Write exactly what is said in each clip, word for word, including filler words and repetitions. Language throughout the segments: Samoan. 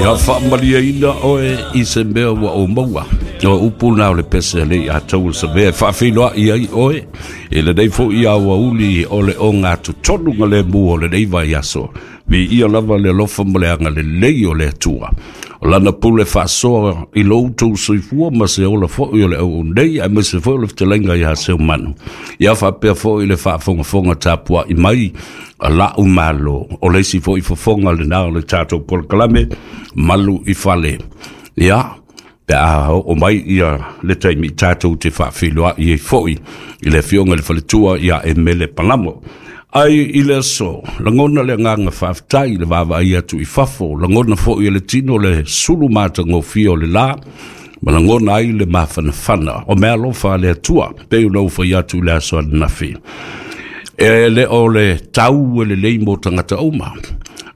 Ia faamaliaina oe i se mea ua ou maua. O upu na o le pese lei a tau savea e faafeiloai ai oe i lenei foʻi aoauli o le ogatotonu ga lemu o lenei vaiaso. Viia lava le alofa ma le agalelei o le Atua. O lana pule faasoa i lou tou soifua ma se ola foʻi o le auaunei, aemaise foi o le fetalaiga iā Seumanu. Ia faapea foʻi le faafogafoga tapuaʻi mai a la'u malo. O le isi foʻi fofoga lenā o le tatou polokalame Malu i Fale. Ia, pe a oo mai ia le taimi tatou te faafeiloai ai foʻi i le afioga i le faletua ia Emele Palamo. Ai i le aso, lagona le agaga faafetai le vaavaai atu i fafo, lagona foʻi e le tino le sulu matagofie o le lā, ma lagona ai le mafanafana o mea alofa a le Atua, pei ona ou fai atu i le aso ananafi. E le o le tau e lelei mo tagata uma,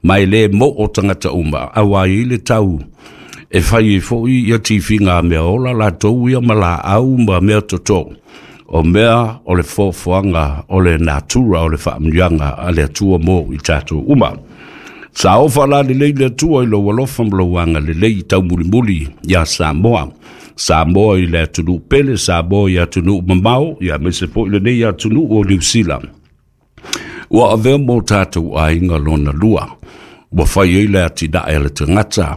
ma e lē moʻo tagata uma, auā i le tau e fai ai foʻi ia tifiga a mea ola latou ia ma laau ma mea totō. O mea o le foafoaga o le natura o le faamanuiaga a le Atua mo i tatou uma. Sa ofa la lelei le Atua i lou alofa ma lou agalelei taumulimuli iā Samoa. Samoa i le atunuu pele, Samoa i atunuu mamao, aemaise foʻi lenei atunuu o Niusila. Ua avea mo tatou aiga lona lua. Ua fai ai le atinae a le tagata,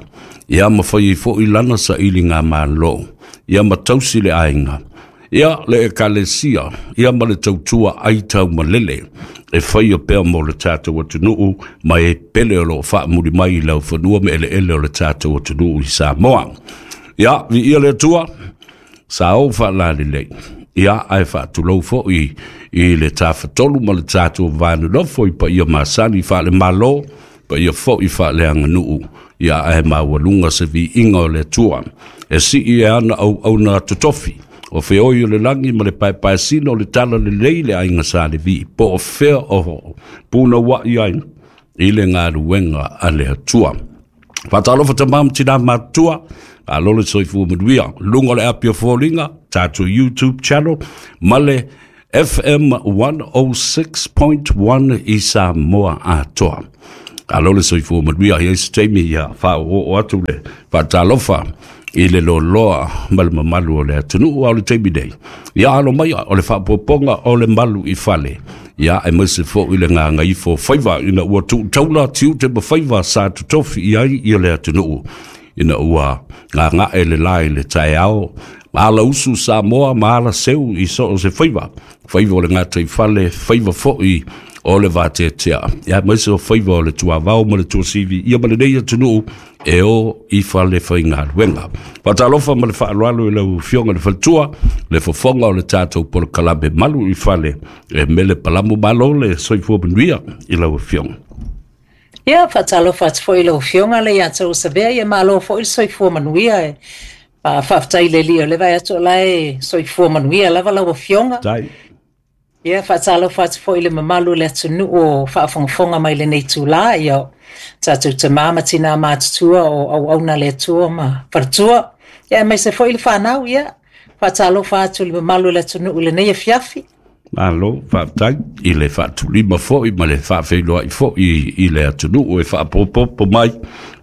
ia ma fai ai foʻi lana sailiga malo, ia ma tausi le aiga, ia le ekalesia, ia ma le tautua ai taumalele, e faia pea mo le tatou atunuu ma e pele o loo faamuli mai i laufanua ma eleele o le tatou atunuu i Samoa. Ia, viia le Atua, sa ou faalalelei. Ia, ae faatulou foʻi i le tafatolu ma le tatou vanonofo i paia masani faale-Malo, paia foʻi faaleaganuu, ia ae maualuga se viiga o le Atua. E sii e ana auauna totofi, o feoi o le lagi ma le paepaesina o le tala lelei le aiga sa Levi, po o fea o punauaʻi ai i le galuega a le Atua. Faatalofa tamā ma tinā matutua, malo le soifua manuia. Luga o le api o foliga, tatou YouTube channel, ma le F M one oh six point one i Samoa atoa. Malo le soifua manuia, i ai se taimi ia faaoooo atu le faatalofa i le loaloa ma le mamalu o le atunuu a o le taimi nei. Ia alo maia o le faapopoga o le Malu i Fale. Ia aemaise foʻi le gagaifo faiva ina ua tuutaula tiute ma faiva sa totofi i ai ia le atunuu. Ina ua gagae le la i le taeao, ma ala usu Samoa ma ala seu i so o se faiva. Faiva o le gataifale, faiva foʻi o le vateatea. Ia aemaise o faiva o le tuavao ma le tuasivi ia ma lenei atunuu e o i fale faigaluega. Faatalofa ma le faaaloalo i lau afioga le faletua, le fofoga o le tatou polokalame Malu i Fale, e Mele Palamo. Malo le soifua manuia i lau afioga. Ia, faatalofa atu foi i lau afioga le ia tou Savea, ia malo foi le soifua manuia e. Faafetai i le Alii o le vaai atu o la e soifua manuia lava lau afioga. Tai. Ia, faatalofa atu foi i le mamalu o le atunuu o faafogafoga mai lenei itulā, ia tatou tamā ma tinā matutua o auauna le Atua ma faletua. Ia aemaise foi le fanau, ia faatalofa atu i le mamalu o le atunuu i lenei afiafi. Malo, faafetai i le faatulima foʻi ma le faafeiloai foʻi i le atunuu e faapopopo mai,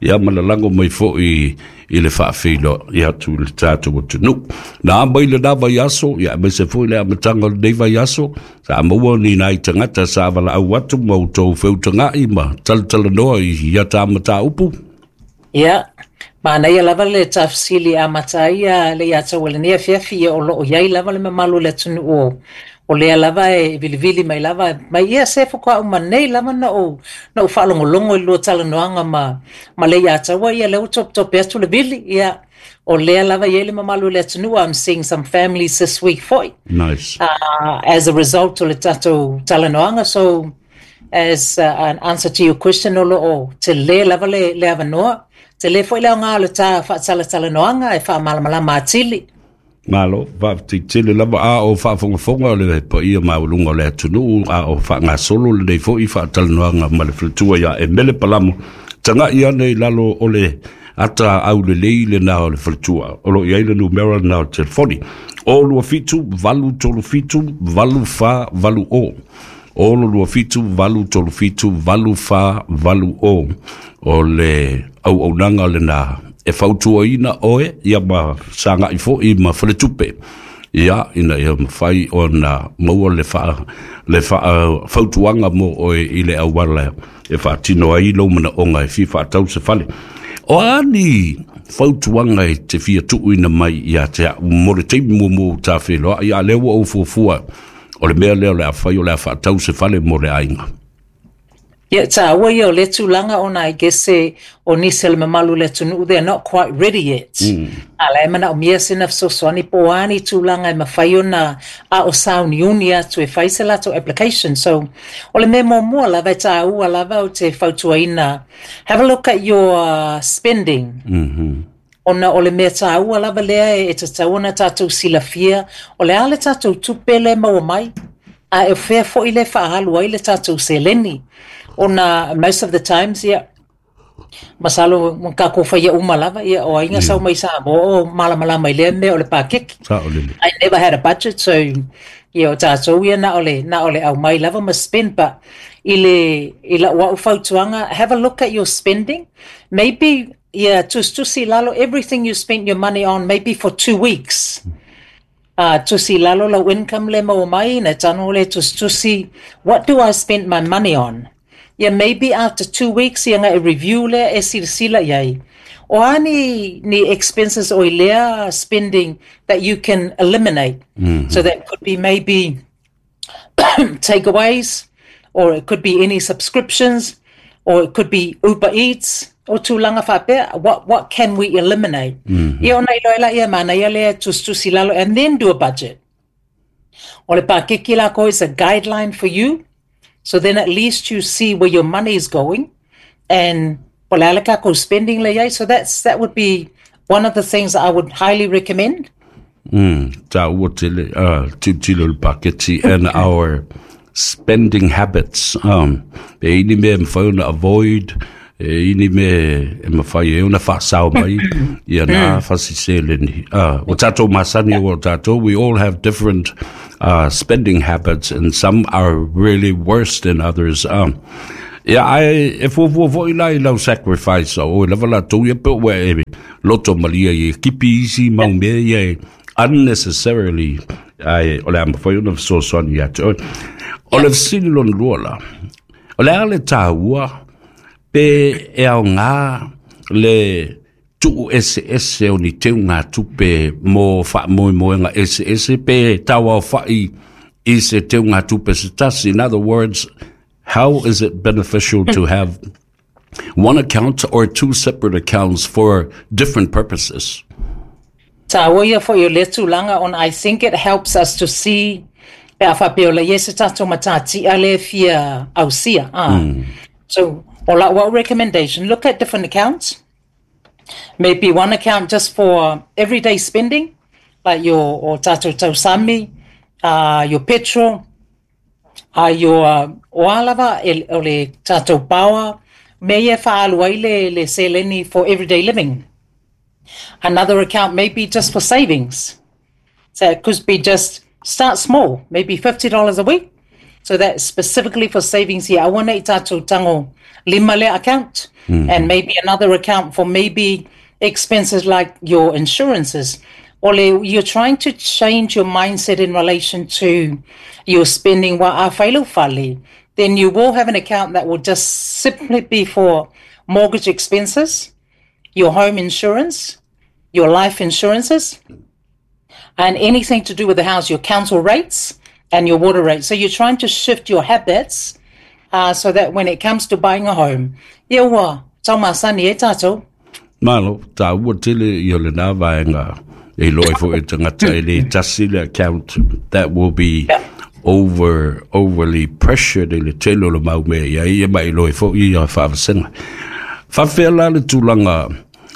ia ma lalago mai foʻi i le faafeiloai atu i le tatou atunuu. Na mai lenā vaiaso, ia aemaise foi le amataga o lenei vaiaso, sa maua ni nai tagata sa valaau atu ma outou feutagaʻi ma talatalanoa i ia ta mataupu. Ia, manaia lava le tafesili amata ai ia le ia tau lenei afiafi, ia o loo i ai lava le mamalu o le atunuu o o lea lava e vilivili mai lava mai ia se faatoa uma nei lava na ou na ou faalogologo i lua talanoaga ma ma le ia taua, ia lea ua topetope atu le vili, ia o lea lava i ai le mamalu o le atunuu. I'm seeing some families this week foi Nice. uh, as a result o le tatou talanoaga. So as uh, an answer to your question, o loo tele lava le, le avanoa, tele foi le aoga o le ta faatalatalanoaga e faamalamalama atili. Malo, faafetai tele lava a o faafogafoga o le paia maualuga o le atunuu a o faagasolo lenei foʻi faatalanoaga ma le faletua ia Emele Palamo. Tagaʻi ane i lalo o le ata aulelei lenā o le faletua. O lo o i ai le numera lenā o le telefoni. O lua fitu, valu tolu fitu, valu fa valu o. Olo lua fitu valu tolu fitu valu fa valu o. O le au au nanga le na e fautuaina oe ia ma sanga i fo i ma faletupe. Ia ina ia mawhai o na maua le wha, le wha, fautuanga mo oe i le awala e whaatino ai lo mana onga e fi whaatau se fale. O ani fautuanga e te fia tuuina mai ia te au mo le teimi mo mo tā wheloa ia lewa o fuafua o le mea leo le a whai o le a whaatau se fale mo le ainga. Ia, tāua ia o le tulaga ona I guess e o nisi o le mamalu o le atunuu they are not quite ready yet. Mm. A la e manaomia sina fesoasoani po o a ni tulaga e mafai ona a o sauniuni atu e fai se latou application. So, o le mea muamua lava e tāua lava ou te fautuaina, have a look at your uh, spending. Mm -hmm. Ona o le mea tāua lava lea e tatau ona tatou silafia, o le a le tatou tupe le maua mai, a e fea fo'i le faahalu ai le tatou seleni. Ona most of the times, ia, masalo mo kākou faia uma lava, ia, o aiga sau mai Samoa o malamalama i lea mea o le pakeki. Sao lele. I never had a budget, so ia o tātou ia na o le, na o le au mai lava ma spend, but i le, i lau au fautuaga, have a look at your spending. Maybe, ia, tusitusi i lalo everything you spent your money on, maybe for two weeks. Uh, tusi i lalo lau income le maua mai, na tano le tusitusi, what do I spend my money on? Yeah, maybe after two weeks ia ngai review le e silasila iai. O a ni, ni expenses o i lea spending that you can eliminate. Mm-hmm. So that could be maybe takeaways, or it could be any subscriptions, or it could be Uber Eats, o tulaga faapea, what, what can we eliminate? Mm-hmm. Ia ona iloa e laia manaia lea tusitusi lalo, and then do a budget. O le pakeki lako is a guideline for you, so then at least you see where your money is going, and po le a le kākou spending le iai. So that's, that would be one of the things I would highly recommend. Mm, tāua tele, uh, tilotilo le paketi and our spending habits. Um, e ini mea e mawhai ona avoid, e ini mea e mawhai e ona whaasao mai, ia nā whasiseleni. Uh, o tātou masani o tātou, we all have different uh, spending habits, and some are really worse than others. Um, ia ai e fuafua fo'i la i lau sacrifice o e lava latou ia pe ua e loto malia i e kipi isi mau mea ia e unnecessarily ai o le a mafai ona fesoasoani ia te oe. O le fesili lona lua la, o le a le tāua pe e aogā le tuu eseese o ni teuga tupe mo faamoemoega eseese pe tauaofa'i i se teuga tupe se tasi. In other words, how is it beneficial to have one account or two separate accounts for different purposes? Tāua ia fo'i o lea tulaga ona I think it helps us to see pe a faapea o le ia se tatou matati'a le fia ausia. Ah. Mm. So, o lau au recommendation, look at different accounts. Maybe one account just for everyday spending, like your o tatou tausami, uh, your petrol, uh, your uh, o a lava e, o le tatou power, mea ia e faaalu ai le, le seleni for everyday living. Another account maybe just for savings. So it could be just start small, maybe fifty dollars a week. So that's specifically for savings here. Aua nei tatou tago lima lea account. Mm-hmm. And maybe another account for maybe expenses like your insurances. Ole, you're trying to change your mindset in relation to your spending wa a fai lau fale. Then you will have an account that will just simply be for mortgage expenses, your home insurance, your life insurances, and anything to do with the house, your council rates and your water rates. So you're trying to shift your habits uh, so that when it comes to buying a home, ia ua taumasani e tātou. Malo, tāua tele i o le nā vaenga e iloa ai fo'i e tagata e lē tasi le account that will be Yeah. over, overly pressured i le tele o le mau mea ia ia ma iloa ai fo'i ia faavasega. Faafefea la le tulaga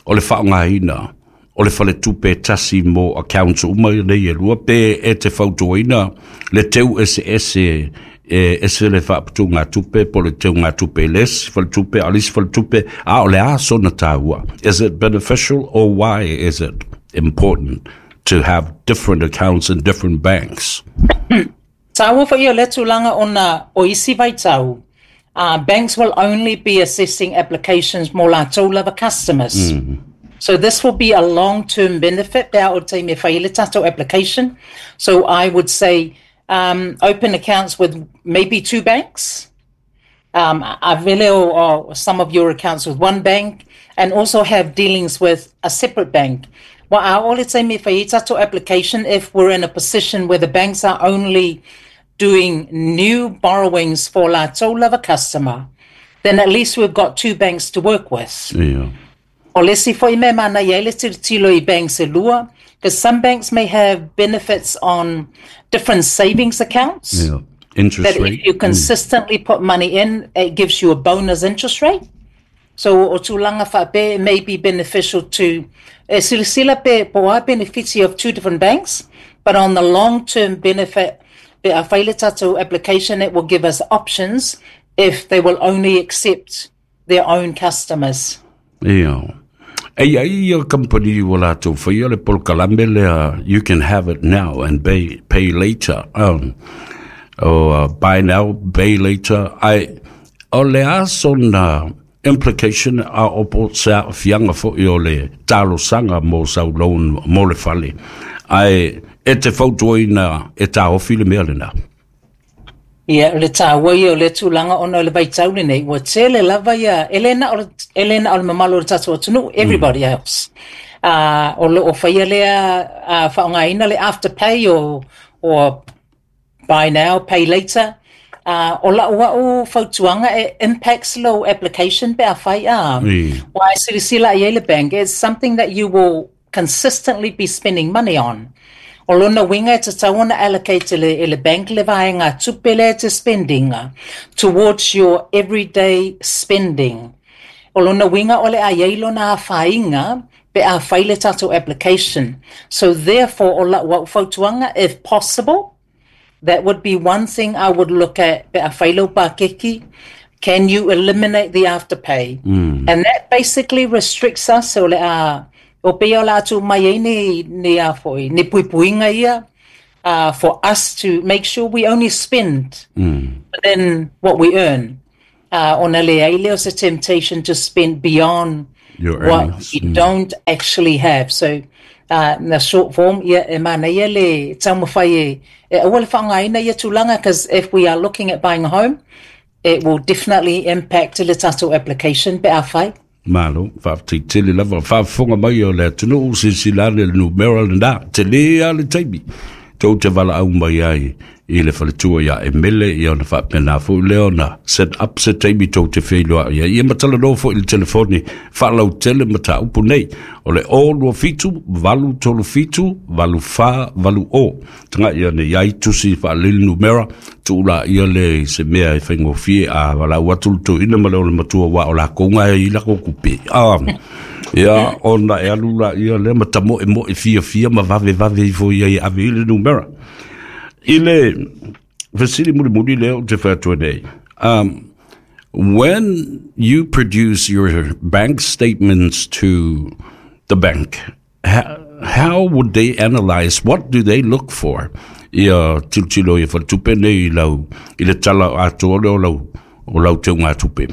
o le faaaogaina o le faletupe e tasi mo accounts uma nei e lua pe e te fautuaina le teu eseese e ese le faaputugatupe po o le teugatupe i le isi faletupe a o le isi faletupe a o le a sona tāua. Is it beneficial or why is it important to have different accounts in different banks? Tāua fo'i o le tulaga ona o isi vaitau, uh, banks will only be assessing applications mo latou lava customers. Mm. So this will be a long-term benefit pe a o taimi e fai le tatou application. So I would say um, open accounts with maybe two banks. Um, avele o, o some of your accounts with one bank and also have dealings with a separate bank. Well, a o le taimi e fai tatou application if we're in a position where the banks are only doing new borrowings for latou lava customer, then at least we've got two banks to work with. Yeah. O le isi fo'i mea manaia ai le tilotilo i banks e lua, because some banks may have benefits on different savings accounts. Yeah. Interest That rate. if you consistently put money in, it gives you a bonus interest rate. So o tulaga faapea it may be beneficial to e silasila pe po o a benefits of two different banks, but on the long-term benefit, pe a fai le tatou application, it will give us options if they will only accept their own customers. Ia. E i ai ia company ua latou faia le polokalame lea you can have it now and pay, pay later. Um, o uh, buy now, pay later. Ai, o le a sona implication a o po se aafiaga fo'i o le talosaga mo sau loan mo le fale. Ai, e te fautuaina e taofi le mea lena. Ia, o le tāua ia o le tulaga ona o le vaitau lenei, ua tele lava ia, e le na o le, e le na o le mamalu o le tatou atunuu, everybody else. Uh, o lo o faia lea uh, faaaogaina le afterpay o, o buy now, pay later. Uh, o lau au fautuaga e impacts lou application pe a fai a. Mm. Why silasila i ai le bank, it's something that you will consistently be spending money on. O lona uiga e tatau ona allocate le, e le bank le vaega tupe lea e te spending towards your everyday spending. O lona uiga o le a iai lona afaina pe a fai le tatou application. So therefore, o lau au fautuaga, if possible, that would be one thing I would look at pe a fai lau pakeki. Can you eliminate the afterpay? Mm. And that basically restricts us o le a o pei o la atu mai ai ni, ni a foi, ni puipuiga ia uh, for us to make sure we only spend Mm. within what we earn. Uh, ona le ai lea o se temptation to spend beyond Your what earnings. you don't actually have. So, uh, na short form, ia e manaia le taumafai e, e aua le faaaogaina ia tulaga, because if we are looking at buying a home, it will definitely impact le tatou application pe a fai. Malo, faafetai tele lava faafofoga mai o le atunuu silasila ane le numera lena, tele a le taimi. Tou te valaau mai ai i le faletua ia Emele ia ona faapena fo'i lea ona set up se taimi tou te feiloai ai. Ia ma talanoa fo'i i le telefoni faalautele mataupu nei. O le o lua fitu, valu tolu fitu, valu fa, valu o. Taga'i ane i ai tusi faalili numera, tuu laia le se mea e faigofie a valaau atu le toeaina ma le ole matua ua o lakou gae ai lako kupe. Ah, ia ona e alu laia lea ma tamoemoe fiafia ma vavevave ifo ia i ave i le numera. I le fesili mulimuli lea ou te fai atu ai nei. Um, when you produce your bank statements to the bank, how, how would they analyze? What do they look for? Ia tilotilo ia faletupe nei i lau i le tala atoa lea o lau o lau teugatupe.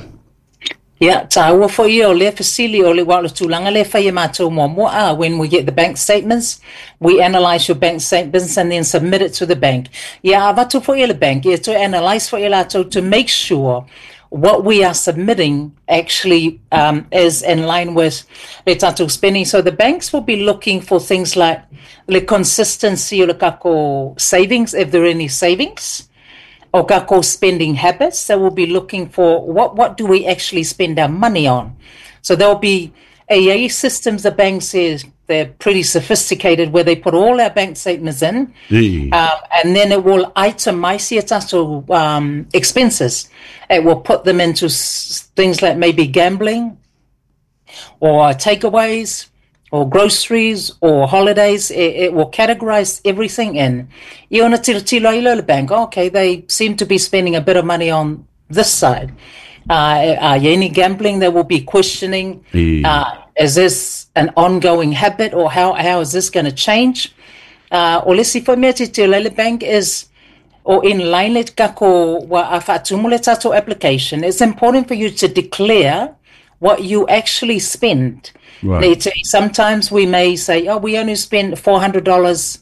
Ia, tāua fo'i ia o lea fesili o le wa o le tulaga lea e fai e matou muamua a when we get the bank statements, we analyse your bank statements and then submit it to the bank. Ia avatu fo'i e le bank, ia toe analyse fo'i e latou to make sure what we are submitting actually um, is in line with le tatou spending. So the banks will be looking for things like le consistency o le tatou savings, if there are any savings, o tatou spending habits. They will be looking for what, what do we actually spend our money on. So there'll be A A systems, the bank says they're pretty sophisticated, where they put all our bank statements in, Ī. um, and then it will itemize ia tatou um, expenses. It will put them into s- things like maybe gambling, or takeaways, or groceries, or holidays. It, it will categorize everything in. Ia ona tilotilo ai lea o le bank, okay, they seem to be spending a bit of money on this side. Uh, uh, any gambling, they will be questioning, Ī. uh, is this an ongoing habit or how, how is this going to change? Uh, o le isi foi mea tilotilo ai le bank is o in line le kako wa a whaatumu le tātou application, it's important for you to declare what you actually spend. Right. Sometimes we may say, oh, we only spend four hundred dollars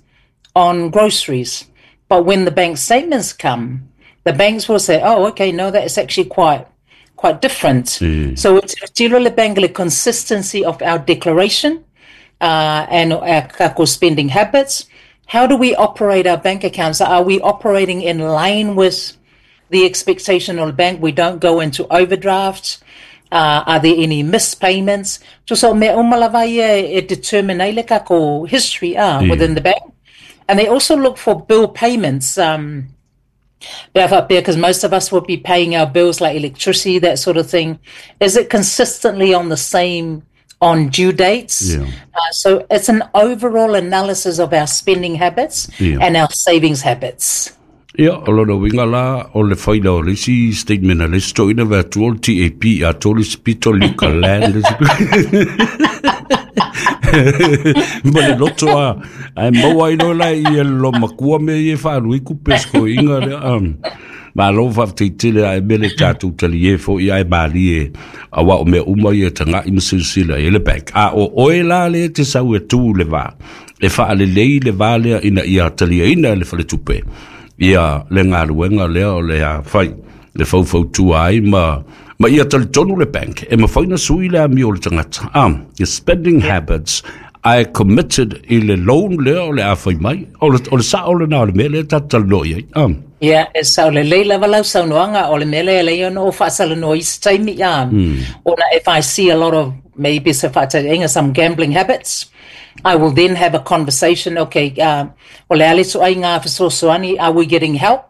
on groceries. But when the bank statements come, the banks will say, oh, okay, no, that is actually quite quite different. Mm. So it's le bank le consistency of our declaration uh, and our kako spending habits. How do we operate our bank accounts? Are we operating in line with the expectation of the bank? We don't go into overdrafts. Uh, are there any missed payments? So me umalava e determine ai le kako history uh, Yeah. within the bank. And they also look for bill payments. Um, because most of us will be paying our bills like electricity, that sort of thing. Is it consistently on the same on due dates? Yeah. Uh, so it's an overall analysis of our spending habits Yeah. and our savings habits. Ia, o lona winga la o le whaila o le isi statement a le isi toina vea tu o le T A P a toli spito lika land. Ma le loto a, ai maua ino la i e lo makua me i e whaanui ku pesko inga le. Um, ma lo whawhtei tele ai mele tātou tali e fo i ai maali e a wa o mea uma i e tanga i masilasila e le bank. A o oe la le te sau e tū le vā. E whaale lei le vā lea ina ia talia ina le whale tupe. Ia le ngā lea o le a whai, le whauwhautua ai ma, ma ia talitonu le bank. E mawhaina sui le ami o le tangata. Um, your spending Yeah. habits, I committed i le loan lea o le a whai mai. O le, o le sa o le nā o le mea le tatalo i ai. Um. Yeah, e sa o le leila walau saunoanga o le mele le ono o whaasala no isi taimi. Um, Mm. Ona if I see a lot of maybe se whaataenga some gambling habits, I will then have a conversation. Okay, uh, o le ale so ai ngā whasosoani, are we getting help?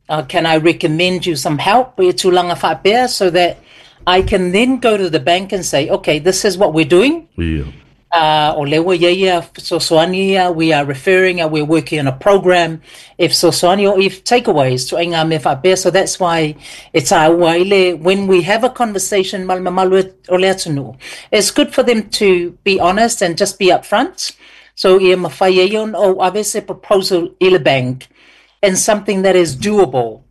Uh, can I recommend you some help? E tūlanga whaapea, so that I can then go to the bank and say, okay, this is what we're doing. Yeah. Uh, o lewa ia whasosoani, we are referring, uh, we're working on a program. If sosoani or if takeaways to ngā me whaapea. So that's why it's our waile, when we have a conversation, malmamalu o le atunu, it's good for them to be honest and just be upfront. So ia mawhai e on o avese proposal i le bank and something that is doable.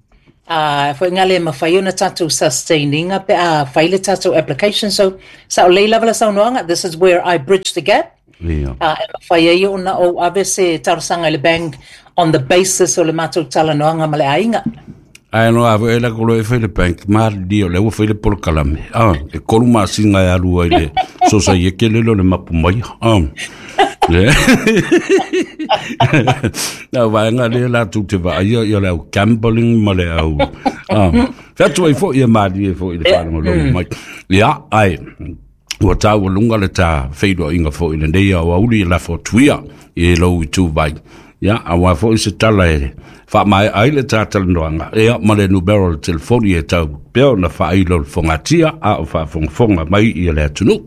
Uh, fo ngale mawhai ona tātou sustaining pe a whaile tātou application. So sa o leila wala saunoanga, this is where I bridge the gap. Yeah. Uh, e mawhai e ona o avese tarosanga i le bank on the basis o le mātou talanoanga ma le ainga. Ai no ave e la kolo e whaile bank, ma li o le ua whaile polo kalame. Ah, e kolu masinga e alua i le sosa i e kelelo le mapu mai. Ah. Le. Nā waenga le la tū te vaa ia, ia le au gambling ma le au. Ah. Whatu ai fo ia maali e fo i le whanau longo mai. Ia, ai, ua tāua lunga le tā whairua inga fo i le nei au auli i la fo tuia i e lou i tū vai. Ia, a wā fo i se tala e wha mai ai le tātala noanga. Ia, ma le numero le telefoni e tau peo na whailo le whangatia a o whafongafonga mai i le atunu.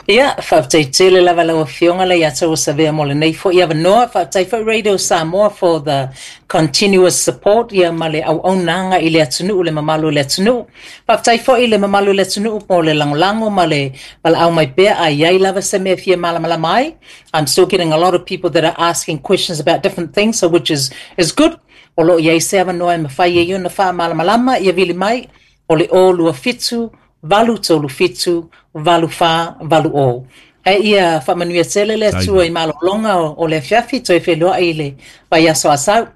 Ia, whaaftai tele lava lau afioga le ia tau savea mo le nei fo ia vanoa, whaaftai fo Radio Samoa for the continuous support ia ma le au aunanga i le atunuu le mamalu le atunuu. Whaaftai fo i le mamalu le atunuu mo le langolango ma le wala au mai pea a iai lava se mea fia malamalama ai. I'm still getting a lot of people that are asking questions about different things, so which is, is good. O lo iai se avanoa e mawhai e iona wha malamalama ia vili mai o le o lua fitu, valu tolu fitu, valu wha, valu o. E ia whamanuia tele le atua i malolonga o, o le fiafi, toi whenua i le vai aso asau.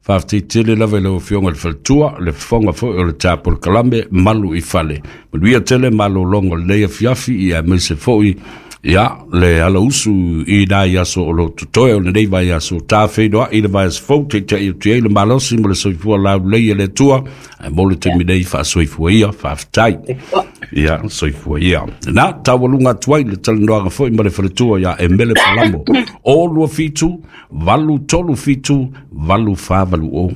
Whaaftai tele lava i lau afioga le faletua, le fofoga foi o le tāpo le kalame, malu i fale. Manuia tele malolonga o le fiafi i a meise foi, ia, le ala usu i nai aso o lo tutoe o le nei vai aso tā whenua i le vai aso fau, te te i le malosi mo le soifua lau lei e le tua, ai mo le te minei wha soifua ia, whaaftai. Ia, soifua ia. Nā, taualunga atuai le talanoaga foi ma le faletua ia e mele palamo. O lua fitu, valu tolu fitu, valu wha valu o.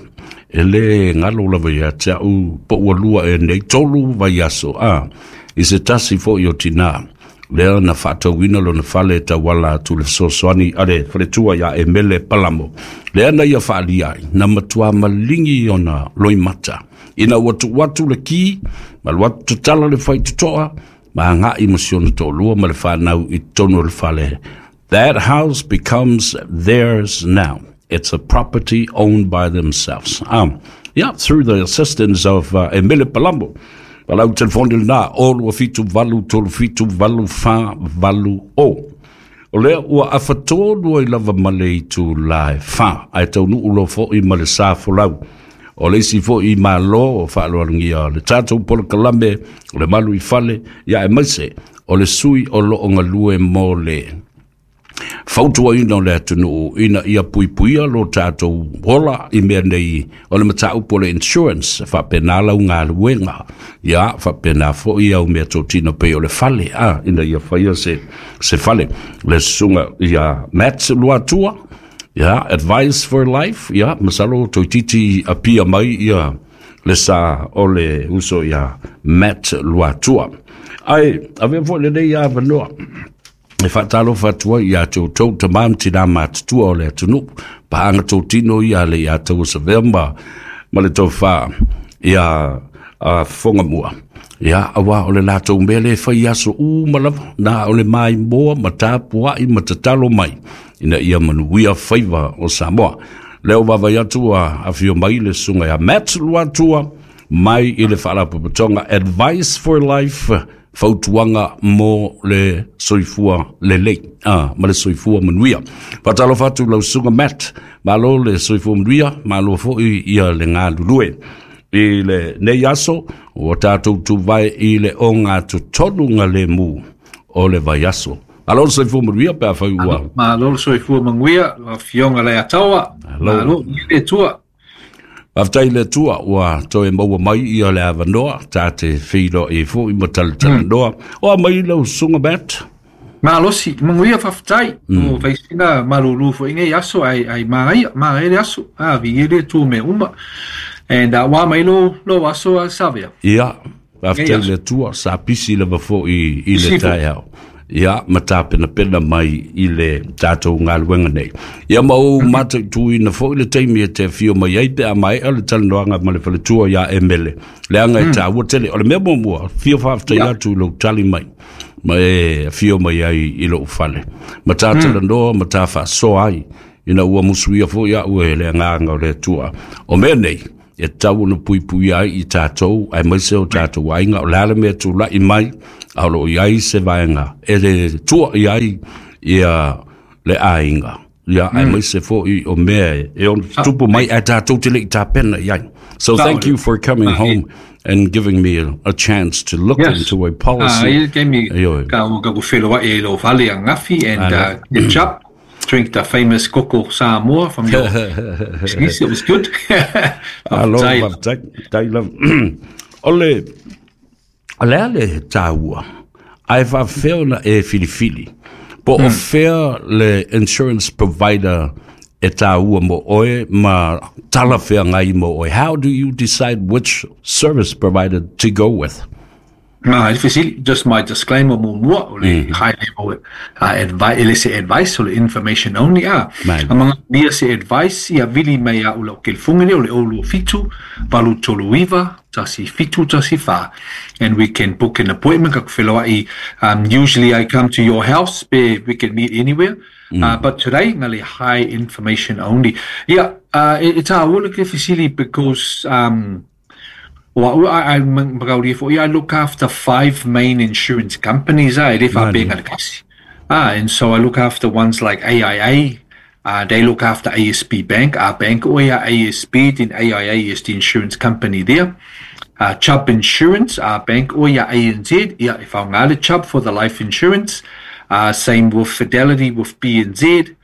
E le ngalo lava ia te au po ua lua e nei tolu vai aso. Ah, i se tasi foi o tina. Lea na whaatauina lo na whale tawala atu le sosoani a le whaletua ia e mele palamo. Lea na ia whaalia ai, na matua malingi ona loimata. Ina watu watu le ki, ma le watu tatala le whaitutoa, ma ngai masiona tōlua ma le whanau i tono le whale. That house becomes theirs now. It's a property owned by themselves. Um, yeah, through the assistance of uh, Emile Palumbo. Palau telefoni lena o lua fitu valu tolu fitu valu fa valu o. O lea ua afatolu ai lava ma le itu la e fa. Ae taunuu loa fo'i ma le sa folau. O le isi fo'i malo o fa'aaloalogia le tatou polokalame o le malu i fale ia aemaise o le sui o lo'o galue mo le fautuaina o le atunuu ina ia puipuia lo tatou ola i mea nei o le mataupu o le insurance faapena lau galuega ia faapena fo'i au mea totino pei o le fale a ina ia faia se se fale le susuga ia Matt Luatua ia Advice for Life ia masalo toeitiiti apia mai ia le sa o le uso ia Matt Luatua ae avea fo'i lenei avanoa e faatalofa atu ai ia te outou tamā ma tinā matutua o le atunuu paaga totino ia le ia tauasavea ma ma le tofa ia a fofoga mua ia auā o le latou mea lē fai aso uma lava na o le maimoa ma tapua'i ma tatalo mai ina ia manuia faiva o Samoa lea o vaavaai atu a afio mai le susuga ia Matt Luatua mai i le faalapotopotoga Advice for Life, fautuaga mo le soifua lelei ah, ma le soifua manuia. Faatalofa atu lau susuga Matt, malo le soifua manuia, malo fo'i ia le galulue. I le nei aso, ua tatou tuvae i le oga totonu galemu o le vaiaso. Malo le soifua manuia pe afai ua. Malo le soifua manuia, afioga Leiataua. Malo i le Atua. Faafetai le Atua ua toe maua mai ia le avanoa ta te feiloai fo'i ma talatalanoa. O a mai lau susuga Matt? Malosi, manuia faafetai. O faisina malulu fo'i nei aso ai ai magaia, magaia le aso. A vi le tu me uma. And uh, wa mai lo lo aso a Savea. Ia, faafetai le Atua, sa pisi lava fo'i i le taeao. Ia, ma tapenapena mai i le tatou galuega nei. Ia ma ou mataituina fo'i le taimi e te afio mai ai pe a maea le talanoaga ma le faletua ia Emele. Leaga e taua tele. O le mea muamua, fia faafetai atu i lou tali mai. Ma e afio mai ai i lou fale. Ma ta talanoa ma ta faasoa ai. Ina ua musuia fo'i a'u e le agaga o le Atua. O mea nei, e tatau ona puipuia ai i tatou, aemaise o tatou aiga, o le a le mea tula'i mai, a o loo i ai se vaega e le tua i ai ia le aiga. Ia, aemaise fo'i o mea e ono tupu mai ae tatou te le'i tapena i ai. So thank you for coming home and giving me a, a chance to look Yes. into a Ah, policy. ia taimi Ioe. ka ka ku feloa'i i lo fale angafi and uh, catch up. Drink the famous koko Samoa from your excuse, it was good. Alo, Faafetai. faafetai, tai lava. O le, o le a le taua, ae faafefea ona e filifili. Po o fea le insurance provider e taua mo oe ma talafeagai mo oe. How do you decide which service provider to go with? Ma, e fesili, just my disclaimer muamua, o le high level uh, advice, ele se advice, o le information only, ah. Mai. A manga nia se advice, ia vili mai a ula o kelifunga o le o lua fitu, valu tolu iva, tasi fitu tasi fa. And we can book an appointment, ka ai, um, usually I come to your house, pe we can meet anywhere. Uh, but today, ngali high information only. Yeah, uh, it, it's a ula ke fesili because, um, well, I, I, I look after five main insurance companies. Ah, e le faapea le kasi. Ah, and so I look after ones like A I A. Uh, they look after A S B Bank. Our bank, o ia A S B, then A I A is the insurance company there. Uh, Chubb Insurance, our bank, o ia A N Z, ia e whaungale Chubb for the life insurance. Uh, same with Fidelity with B N Z,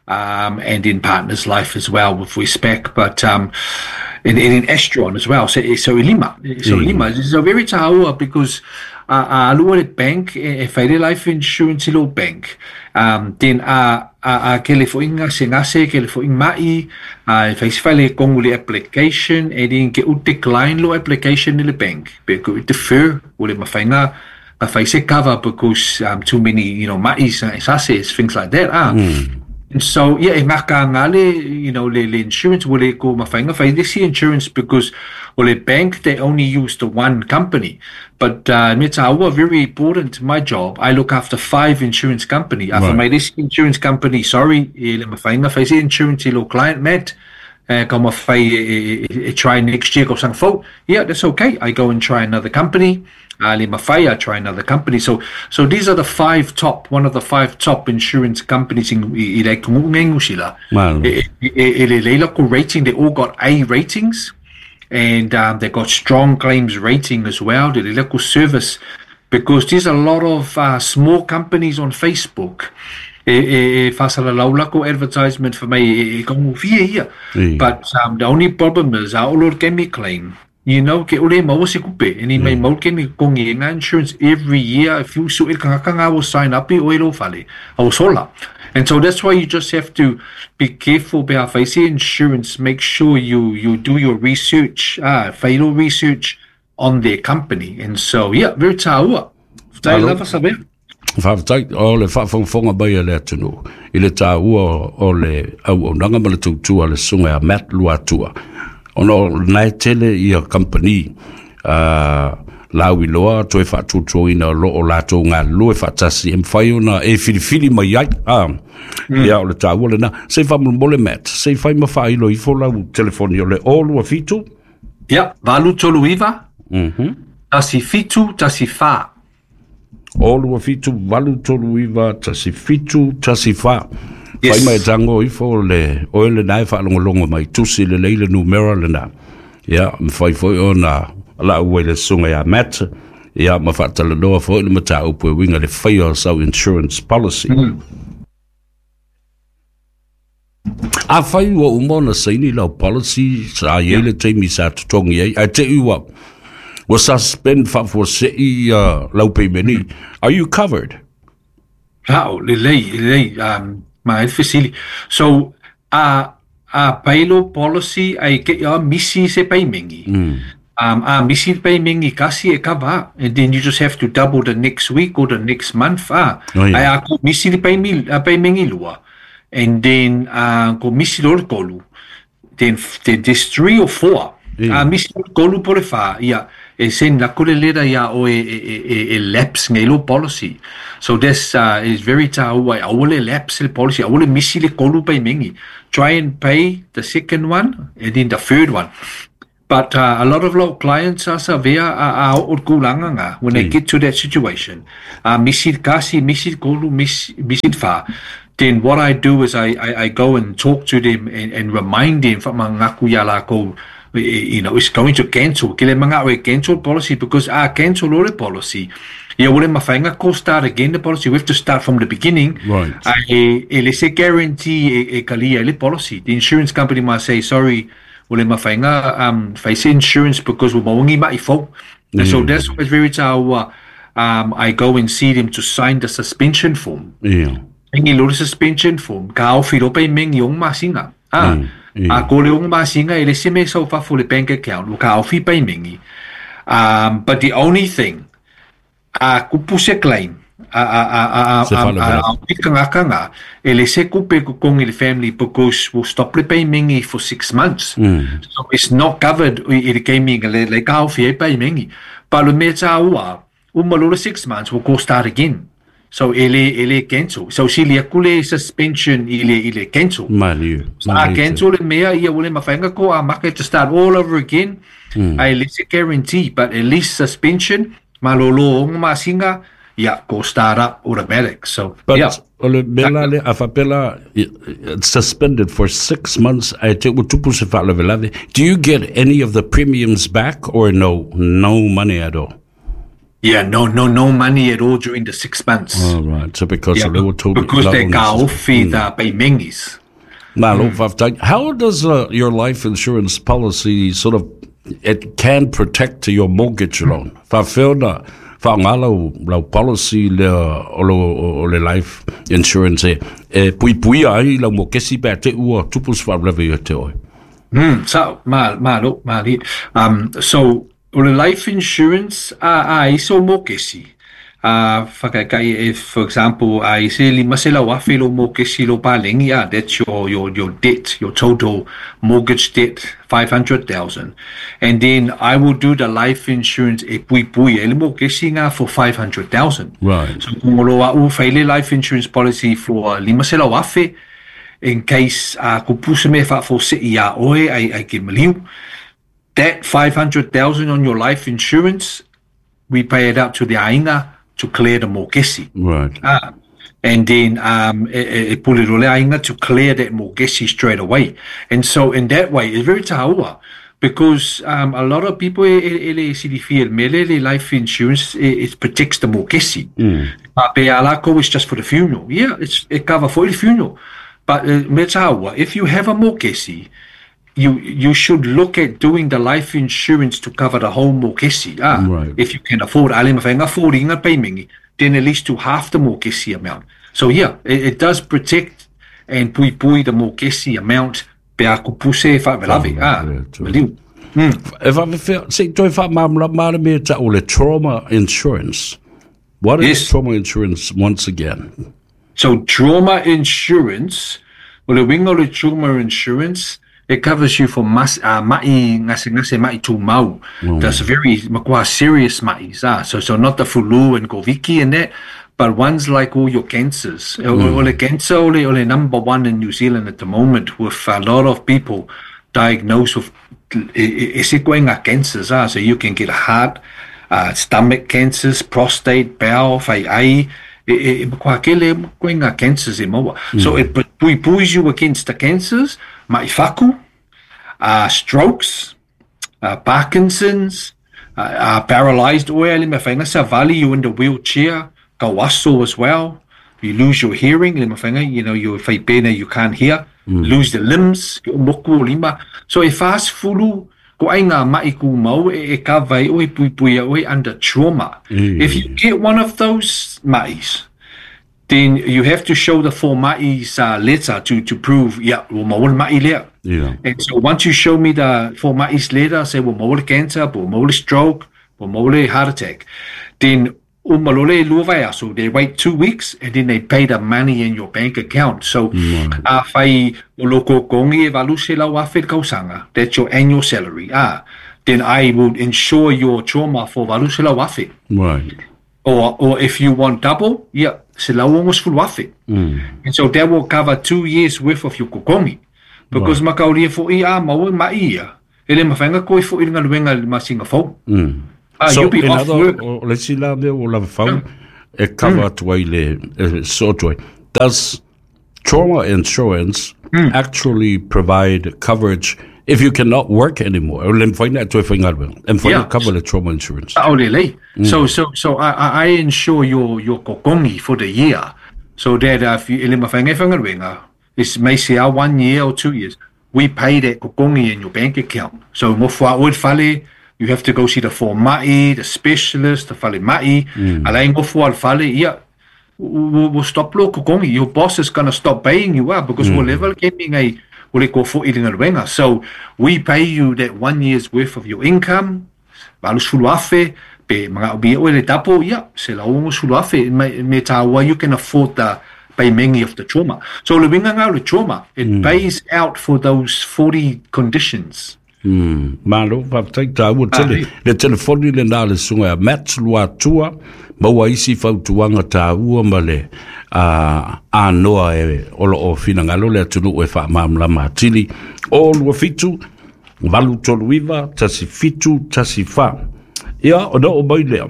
um, and in Partners Life as well with Westpac, but um, and, and in Astron as well. So, so lima, so lima. So very taua because uh, a lua le bank e, e whaere life insurance i lo bank. Um, then a a, a ke le foinga se ngase ke le foinga mai a e whaisi whaile kongu le application e din ke u decline lo application i le bank. Pe ku defer o le mawhainga a whai se cover because um, too many you know mais uh, sases, things like that. Ah. And so, yeah, e ngaka ngale, you know, le, le insurance ua le ko mafaiga fai le isi insurance because o le bank, they only use the one company. But uh, mea tāua, very important to my job, I look after five insurance company. A fai mai le isi insurance company, sorry, e le mafaiga fai se insurance i lo client Matt, uh, ka mafai e, e, e, e try next year tausaga fou. Yeah, that's okay. I go and try another company. A le mafai, I try another company. So, so these are the five top, one of the five top insurance companies in i, i le atunuu sila. Malo. E, e, e, e le leila ko rating, they all got A ratings. And um, they got strong claims rating as well. The local service, because there's a lot of uh, small companies on Facebook. E, e, e faasalalau lakou advertisement for me e, e kaugofie ia. Ē. But um, the only problem is a oo loa le taimi claim. You know, ke ʻole e maua se kupe. E ni mai mau le taimi totogi ai ngā insurance every year. If you suʻe le tagata ngā ua sign up i oe i lou fale. A ua sola. And so that's why you just have to be careful pe a fai se insurance. Make sure you you do your research. Ah, fai lou research on their company. And so, yeah, very tāua. Faafetai Malo. lava Savea. Faafetai o le faafogafoga mai a le atunuu i le tāua o le auaunaga ma le tautua a le susuga ia Matt Luatua ona o lena e tele ia kamupani a lauiloa toe faatuatuaina o loo latou galulue faatasi e mafai ona e filifili mai ai a ia o le tāua lena se i faamolemole Matt se i fai ma faailo ifo lau telefoni o le o lua fitu Yeah, valu tolu iva, tasi fitu, tasi fa. O lua fitu valu tolu iva tasi fitu tasi fa. Yes. Fai mai tago ifo le oe lena e faalogologo mai tusi lelei le numera lena. Ia, mafai foi ona laau ai le susuga ia Matt, ia ma faatalanoa foi le mataupu e uiga i le faia o sau insurance policy. Afai ua uma ona saini lau policy sa i ai le taimi sa totogi ai, ae te i ua ua suspend faafuasei uh, lau peimeni, are you covered? La'o, lelei, lelei, um, ma e le fesili. So, a, a pai lou policy ai ke a misi se paimengi. Um, a misi le paimengi kasi e cover, and then you just have to double the next week or the next month. Ah, Oh, yeah. ai a ko misi le paimi, a paimengi lua. And then uh, ko misi loa le tolu. Then, then there's three or four. Yeah. A misi loa le tolu po o le fa, ia, e send aku le letter ia oe e, e, e, e lapse ngai lou policy. So this uh, is very tāua e aua le lapse le policy, aua le misi le tolu paimengi. Try and pay the second one and then the third one. But uh, a lot of local clients a Savea a a oo i le tulaga ngā when they get to that situation. Uh, misi le kasi, misi le tolu, misi, misi le fa. Then what I do is I, I, I go and talk to them and, and remind them faamagaku iā lakou you know, it's going to cancel. Ke le manaʻo e cancel policy because a cancel loa le policy. Ia ua le mafaiga ko start again the policy. We have to start from the beginning. Right. Ae e le se guarantee e, e kalia ai le policy. The insurance company might say, sorry, ua le mafaiga um, fai se insurance because ua maua ni maʻi fou. And so that's why it's very tāua. Um, I go and see them to sign the suspension form. Ia. Saini loa le suspension form, ka aofi loa paimengi i ono masina. Ah, Mm, a ko le ono masina e le isi mea e sau fafo i le bank account, ua ka aofi paimengi. Um, but the only thing, a kupu se claim, a a a a a Se a a faalavelave. a tagata ngā, e le se kupe e totogi i le family because we'll stop le paimengi for six months. So it's not covered i i le taimi le le ka aofi ai paimengi. Pa o le mea tāua, uma loa le six months, we'll go start again. So e le e le cancel. So sili aku le suspension i le i le cancel. Maliu. So a Maliu tele. cancel le mea ia ua le mafaiga ko a market to start all over again. Ae le se guarantee, but at least suspension, malolo ono masina, ia ko start up automatic. So But yeah. o le mea la lea, a faapea la, it's suspended for six months, ae te ua tupu se faalavelave. Do you get any of the premiums back or no? No money at all? Yeah, no, no, no money at all during the six months. All right. So because Yeah, o lea ua tobi because lau they ona ka sus- ofi the paimengis. Malo faafetai. How does uh, your life insurance policy sort of, it can protect your mortgage loan? Faafefea ona faaaoga lau, lau policy lea o, lo, o le life insurance e, e puipuia ai lau mokesi pe a te i ua tupu se faalavelave ia te oe. Mm, so, ma, malo, mali. Um, so, o le life insurance, a, a iso mokesi. Uh, whakaikai, if, for example, uh, i se lima se lau afe lo mokesi lo palengi, ah, that's your, your, your debt, your total mortgage debt, five hundred thousand. And then I will do the life insurance e pui pui, e le mokesi ngā for five hundred thousand. Right. So, kungolo a u whaile life insurance policy for lima se lau afe, in case uh, kupusa me whaafo i a oe ai, ai ke maliu. That five hundred thousand on your life insurance, we pay it out to the ainga to clear the mokesi. Right. Ah, and then um, e, e pulirole ainga to clear that mokesi straight away. And so in that way, it's very taua, because um, a lot of people, e, e, e, e, life insurance, it, it protects the mokesi. Mm. But pe alako is just for the funeral. Yeah, it's, it cover for the funeral. But uh, me taua, if you have a mokesi, you you should look at doing the life insurance to cover the whole mokesi. Ah, right. If you can afford, ale mawhenga affording payment, then at least to half the mokesi amount. So yeah, it, it does protect and pui pui the mokesi amount. Pe a kupuse whavelave. Ah, maliu. E whawewhea, se toi whamamla mara me ta o le trauma insurance. What is yes. trauma insurance once again? So trauma insurance, o le winga o le trauma insurance, it covers you for mas, uh, ma'i ngase ngase ma'i tūmau. Mm. That's very makua serious ma'is. Ah. So, so not the fulu and goviki and that, but ones like all your cancers. Mm. Ole cancer, ole, ole number one in New Zealand at the moment, with a lot of people diagnosed with e koenga cancers. Ah. So you can get heart, uh, stomach cancers, prostate, bowel, whai ai, e, e, makua kele koenga cancers e maua. Mm. So it puipuis you against the cancers, ma'i whaku, uh, strokes, uh, Parkinson's, uh, uh, paralyzed oe, le mawhainga sa vali, you in the wheelchair, kawaso as well, you lose your hearing, le mawhainga, you know, you whaipene, you can't hear, mm. lose the limbs, moku o lima. So e fast fulu, ko ai ngā ma'i ku mau, e, e ka vai oe, pui pui oe, under trauma. Mm. If you get one of those ma'is, then you have to show the four ma'is uh, letter to, to prove, yeah, well, maul ma'i lea. Yeah. And so once you show me the four ma'is letter, say, well, maul cancer, well, maul stroke, well, maul heart attack, then umalole luavaya. So they wait two weeks and then they pay the money in your bank account. So mm. uh, whai loko kongi e valu se lau afe kausanga, that's your annual salary. Ah, then I will insure your trauma for valu se lau afe. Right. Or, or if you want double, yeah, se lau ongo sfulu afe. Mm. And so that will cover two years worth of your kokongi. Because right. makauria fo i a maua mai ia. Ele mawhenga koe fo i nga luenga masinga fau. Mm. Ah, so you'll be in off other, work. O, le sila mea o lava fau, Yeah. e cover atu ai le, e so atu ai. Does trauma insurance mm. actually provide coverage if you cannot work anymore? O le mwhaina atu e whainga reo. E mwhaina Yeah. cover le trauma insurance. Oh, lele. Mm. So, so, so I, I, I insure your, your kokongi for the year. So that uh, if you, ele mawhenga e whangaruenga, it's may say one year or two years, we pay that kokongi in your bank account. So ngofua oe whale, you have to go see the fōma'i, the specialist, the whale ma'i. Mm. Ala ngofua whale, yeah, we'll, we'll stop lo kokongi. Your boss is gonna stop paying you up because Mm. we'll level kemi ngai ole ko fo i linga. So we pay you that one year's worth of your income. Valu sulu afe, pe mga ubi oe le tapo, yeah, se la ongo sulu afe, me, me tāua, you can afford the paymengi of the trauma. So le winga ngā le trauma, it Mm. pays out for those forty conditions. Mm. Malo, whaptai tāua tele. Le telefoni le nā le sunga a Matt Luatua, maua isi fautuanga tāua ma le uh, anoa e olo o whinangalo le atunu e whaamamlama atili. O lua fitu, valu tolu iwa, tasi fitu, tasi wha. Ia, o no o mai lea.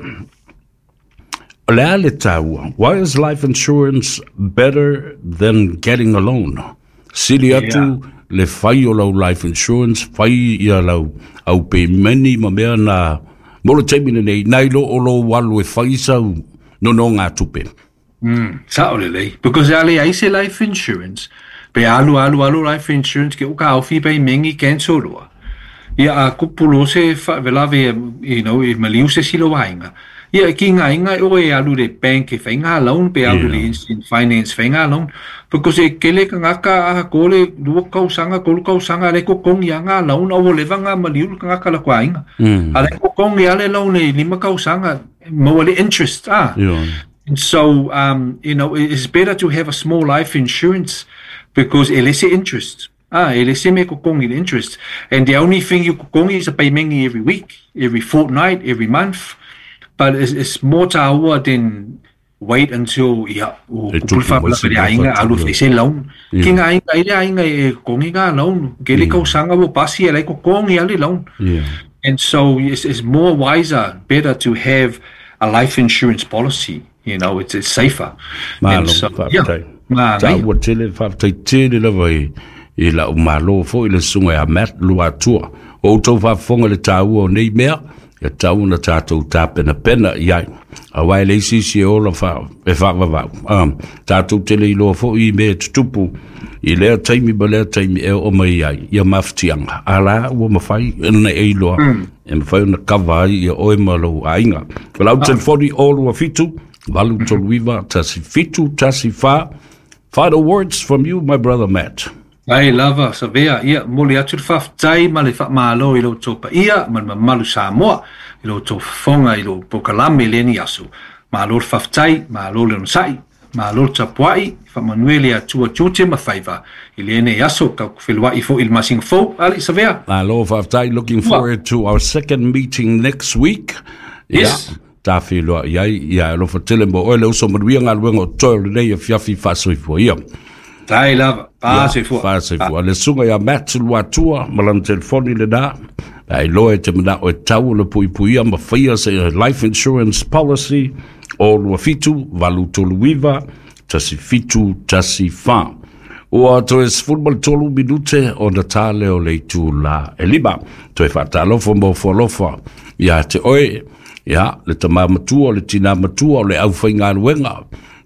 O le ale tāua, why is life insurance better than getting a loan? Sili atu, Yeah. le whai o lau life insurance, whai ia lau au pe meni ma mea nā, molo teimina nei, nei lo o lo walu e whai sau no no ngā tupe. Mm, sa o lele. Because ale ai se life insurance, pe alu alu alu life insurance ke uka au fi pe mengi cancel roa. Ia a kupulo se whavelave, you know, e maliu se silo wainga. Ia ki ngā inga o e alu le bank e whainga loan pe alu le instant finance whainga loan because e kele ka ngaka a kole lua kausanga kolu kausanga le kokongi a ngā loan au leva ngā maliulu ka ngaka la kwa inga. Mm. A le kokongi a le loan e lima kausanga maua le interest ah. Yeah. And so um you know it's better to have a small life insurance because e lese interest. Ah, e lese me kokongi le interest. And the only thing you kokongi is a payment every week, every fortnight, every month. But it's, it's more tāua than wait until ia o E tupu kupulfa mai pala se le ainga mea alu whatu, fese loan. Yeah. Ki ngā ainga i le ainga e kongi ngā loan. Ke le kausanga wo pasi e lai ko kongi ale loan. Yeah. And so it's, it's more wiser, better to have a life insurance policy. You know, it's, it's safer. Malo, And so, yeah. whaatai. Ngā Tā ngai. ua tele, whaatai tele lava i, i la umalo fo i le sunga ia Matt lua atua. O tau whaafonga le tāua o nei mea, ia tau na tātou tāpena pena i ai. A wai le isi si e ola wha, e whaavavau. Um, tātou tele i loa fo i mea tutupu, i lea taimi ma lea taimi e o mai ai, ia mawhitianga. A la, ua mawhai, e na e iloa, e mawhai na kawa ai ia oe ma lou ainga. Walau telefoni o lua fitu, valu tolu iwa, tasi fitu, tasi wha. Final words from you, my brother Matt. Ai lava, savea, ia, moli atu le whawhtai ma le whaamalo i lo tōpa ia, ma le mamalu Samoa, i lo tō whawhonga, i lo pokalame le ni aso. Malo le whawhtai, malo le onosai, malo le tapuai, whamanuele atua tute ma whaiva. I le ene aso, ka kuwheluai fo il masinga fo, ali savea. Malo whawhtai, looking forward to our second meeting next week. Yes. Yeah. Tā whiloa iai, ia alofa tele mo oe le uso manuia ngā luenga o toi o lenei e fiafi whaasoifua ia. Tai lava, whaasoifua. Whaasoifua. Le sunga ia Matt lua atua, ma lana telefoni le nā. Ai loa e te mana o e tau le puipuia ma whaia se life insurance policy o lua fitu, valu tolu iwa, tasi fitu, tasi wha. Ua toe sefulu ma le tolu minute o na tā leo le itu la e lima. Toe whaatālofa mo fualofa ia te oe, ia le tamā matua, le tina matua, o le au whaingaluenga.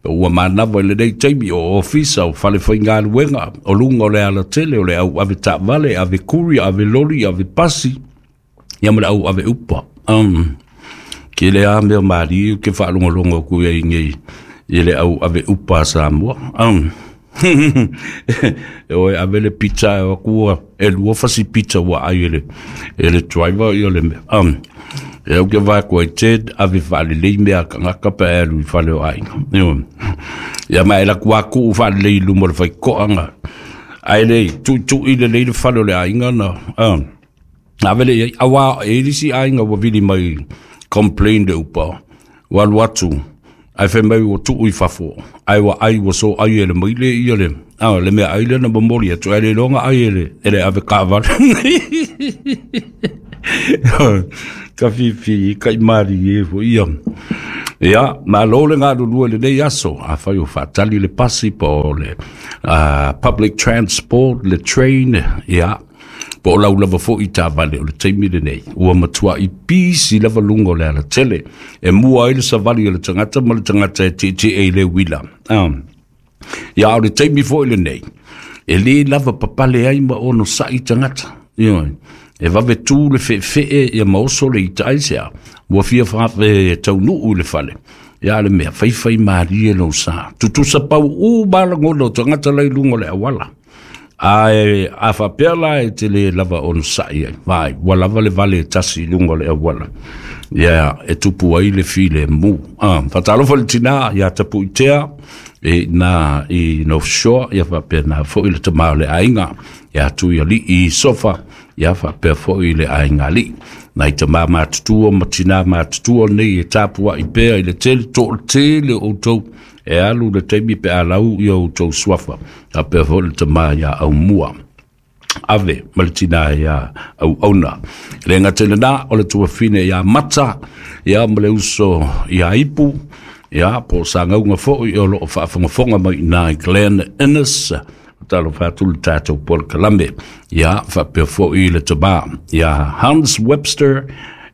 Ua mānawa i le nei taimi o ofisa, o whale whaingaluenga, o lunga o le alatele, o le au ave tāvale, ave kuri, ave lori, ave pasi, ia ma le au ave upa. Um, ke le a mea maari, ke whaalongalonga ku ia ingei, i le au ave upa a Samoa. Um, e oe ave le pizza e wakua, e lua fasi pizza ua ai e le, e le driver i o le mea. Um, e au ke vai koe te ave whaalelei mea ka ngaka pe alu i whale o ainga. Ia ma e la kua ku whaalelei lumo le whai koanga. Ai le tui tui le lei le whale o le ainga na. Um, ave le iai, awa e lisi ainga wa vili mai complain de upa. Walu atu, ai whai mai o tuu i whafo. Ai wa ai wa so ai e le maile ia le. Ah, le mea ai le na mamori atu ai le longa ai e le, e le ave kaawale. Ka whiwhi, kai maari e fo ia. Ia, ma lo le ngā lulua le nei aso, a whai o whaatali le pasi po o le uh, public transport, le train, ia, po o lau lava fo i tā vale o le taimi le nei. Ua matua i pisi lava lunga o le ala tele, e mua ai le savali o le tangata ma le tangata e te te e le wila. Um, ia, o le taimi fo i le nei, e le lava papale ai ma ono sai tangata. Ia, e vave tū le whewhee ia maoso le ita aisea. Ua fia whaawe taunuu le whale. Ia le mea whaiwhai maari e lau sa. Tutusa pau u malangono tangata lai lungo le awala. A, a whapea la e te le lava ono sai ai. Vai, ua lava le vale e tasi lungo le awala. Ia, e tupu ai le file mu. Ah, whatalofa le tina, ia tapu i tea, e nā i North Shore, ia whapea nā fo i le tamao le ainga. Ia tu ia li i sofa, ia whapea fo i le ainga li. Nai te mā mātutua, ma tina mātutua nei e tāpua i pēa i le tele, tō le tele o tau, e alu le teimi pe alau ia o tau swafa. Whapea fo i le tamā ia au mua. Ave, ma le tina ia au auna. Le ngā tele nā, o le tuawhine ia mata, ia ma le uso ia ipu, ia po sa ngaunga fo i o loo whaafongafonga mai nā i Glen Innes, talo whātu le tātou Paul Kalame, ia whapea fo i le tamā. Ia Hans Webster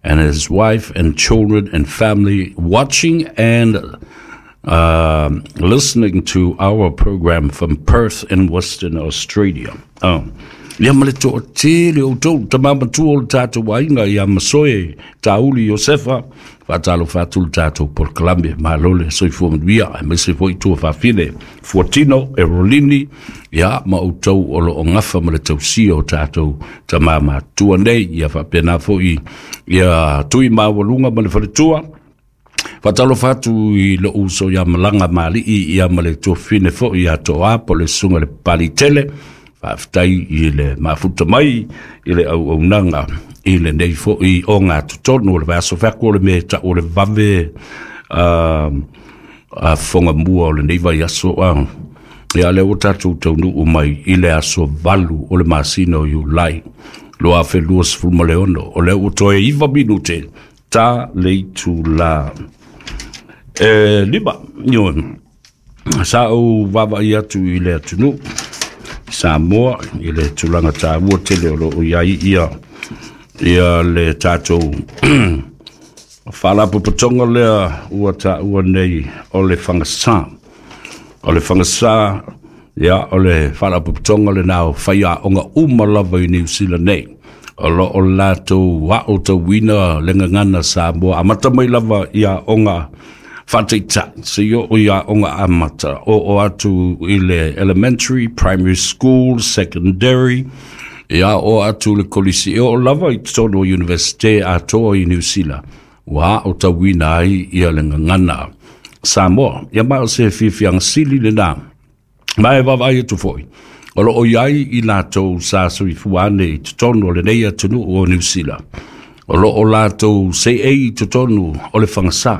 and his wife and children and family watching and uh, listening to our program from Perth in Western Australia. Oh. Ia ma le toatele o outou tama matua o le tatou aiga ia Masoe Tauli Iosefa, faatalofa atu le tatou polokalame, malo le soifua manuia, aemaise foi tua faafine Fuatino Erolini, ia ma outou o lo o gafa ma le tausia o tatou tama matua nei, ia faapena foi ia tui maualuga ma le faletua. Faatalofa atu i lou uso ia Malaga Malii, ia ma le tuafine foi ia Toa po le susuga le Palitele. Faafetai i le mafuta mai i le auaunaga i lenei foi o gatotonu o le vaiaso feaku o le mea e tau o le vave uh, uh, fogamua o lenei vaiaso. Uh, ia lea ua tatou taunuu mai i le aso valu o le masina o Iulai lua afe luasefulu ma le ono, o lea ua toe iva minute ta le itula e lima. Io sa ou vaavaai atu i le atunuu Samoa i le tulaga taua tele o loo i ai ia ia le tatou faalapotopotoga lea ua taua nei o le Fagasā. O le Fagasā, ia o le faalapotopotoga lena o faiaoga uma lava i Niu Sila nei, o loo latou aotauina le gagana Samoa amata mai lava i aoga faataitai seia oo i aoga amata, oo atu i le elementary, primary school, secondary, ia oo atu le kolisi, e oo lava i totonu o Universite atoa i Niu Sila ua aotauina ai ia le gagana Samoa. Ia ma o se fiafiaga sili lena, ma e vaavaai atu foi o loo i ai i latou sa soifua ane i totonu o lenei atunuu o Niu Sila, o loo latou seei i totonu o le Fagasā.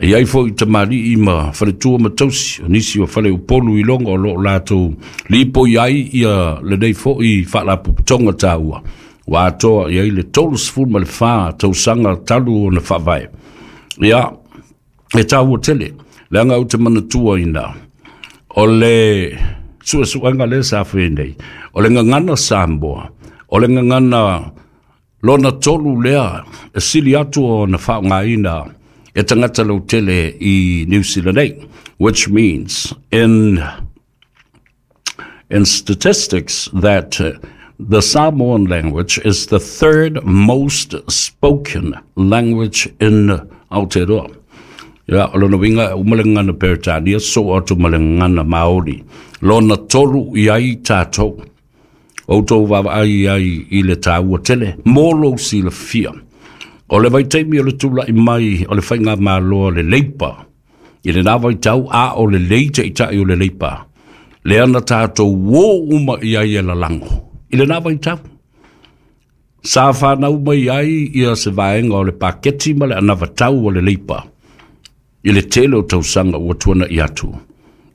E i ai foi tamalii ma faletua ma tausi o nisi o fale Upolu i logo o loo latou lipoi ai ia lenei foi faalapotopotoga taua ua atoa i ai le tolusefulu ma le fa tausaga talu ona faavae. Ia e taua tele leaga ou te manatuaina o le suesuega lea sa fai nei o le gagana Samoa, o le gagana lona tolu lea e sili atu ona faaaogaina e tagata lautele i New Zealand nei, which means in in statistics that uh, the Samoan language is the third most spoken language in Aotearoa. Ia, o lona uiga uma le gagana Peretania soo atu ma le gagana Maori. Lona tolu i ai tatou. Outou vaavaai ai i le taua tele, mo lou silafia. O le vaitaimi o le tula'i mai o le faigamalo a le Leipa, i lena vaitau a o lelei taʻitaʻi o le Leipa, lea na tatou uō uma i ai e lalago i lena vaitau. Sa fanau mai ai ia se vaega o le paketi ma le anavatau o le Leipa i le tele o tausaga ua tuanaʻi atu,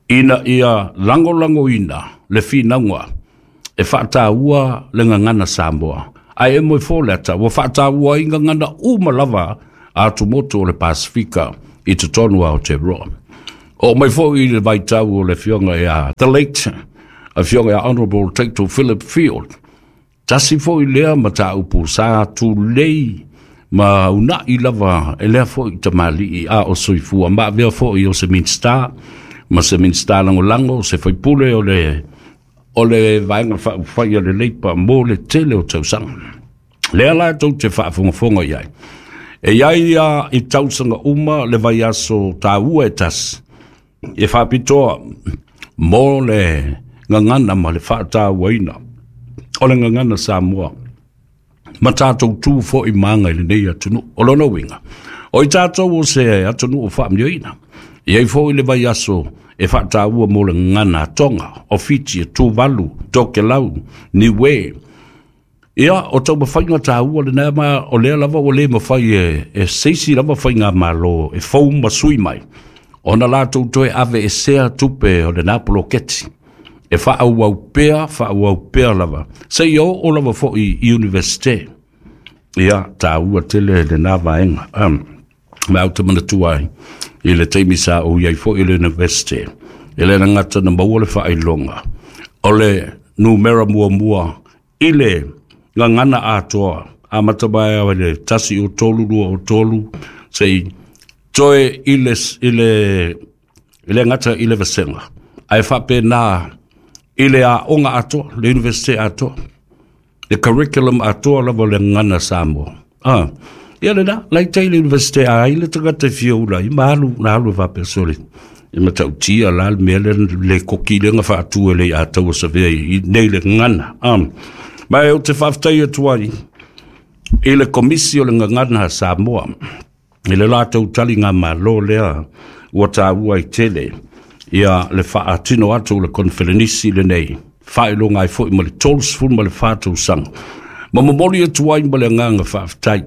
ina ia lagolagoina le finauga e faataua le gagana Samoa. Ae e moe fo le ata ua faataua ai gagana uma lava a atumotu o le Pasifika i totonu o Aotearoa. O mai foi i le vaitau o le afioga ia the late afioga ia Honourable Taito Philip Field, tasi foi lea mataupu sa tulei ma unaʻi lava e lea foi tamalii a o soifua ma avea foi o se Minista ma se Minista lagolago, se faipule o le o le vaega faaupufai a le Leipa mo le tele o tausaga. Lea la tou te faafogafoga i ai. E i ai ia i tausaga uma le vaiaso taua e tasi e faapitoa mo le gagana ma le faatauaina o le gagana Samoa ma tatou tu foi maga i lenei atunuu. O lona uiga o i tatou o se atunuu faamanuiaina, e ai foi le vaiaso e faataua mo le gagana a Tonga, o Fiti, e Tuvalu, Tokelau, Niue. Ia o taumafaiga taua lena, ma o lea lava ua lē mafai e, e seisi lava faigamalo e fou ma sui mai ona latou toe ave e sea tupe o lena poloketi e faaauau pea faaauau pea lava seia oo lava foi i universite. Ia taua tele lena vaega. um, ma ou te manatua ai i le taimi sa ou iai foi i le universite, e le gata na maua le faailoga o le numera muamua i le gagana atoa amata mai i le tasi o tolu lua o tolu sei toe i le, i le, i le gata i le vasega, ae faapena i le aoga atoa, le universite atoa. Le curriculum atoa lava o le gagana Samoa. A ia lena laita'i le Universite a ai le tagata e fia ula ai ma alu na alu e faapea, sole, e matautia la le mea lea le koki lega faatu e le ia taua savea i nei le gagana. A ma e ou te faafetai atu ai i le Komisi o le Gagana a Samoa i le latou taligamalo lea ua taua ai tele ia le faatino atu o le koneferenisi lenei faailoga ai foi ma le tolu ma le fa tausaga, ma momoli atu ai ma le agaga faafetai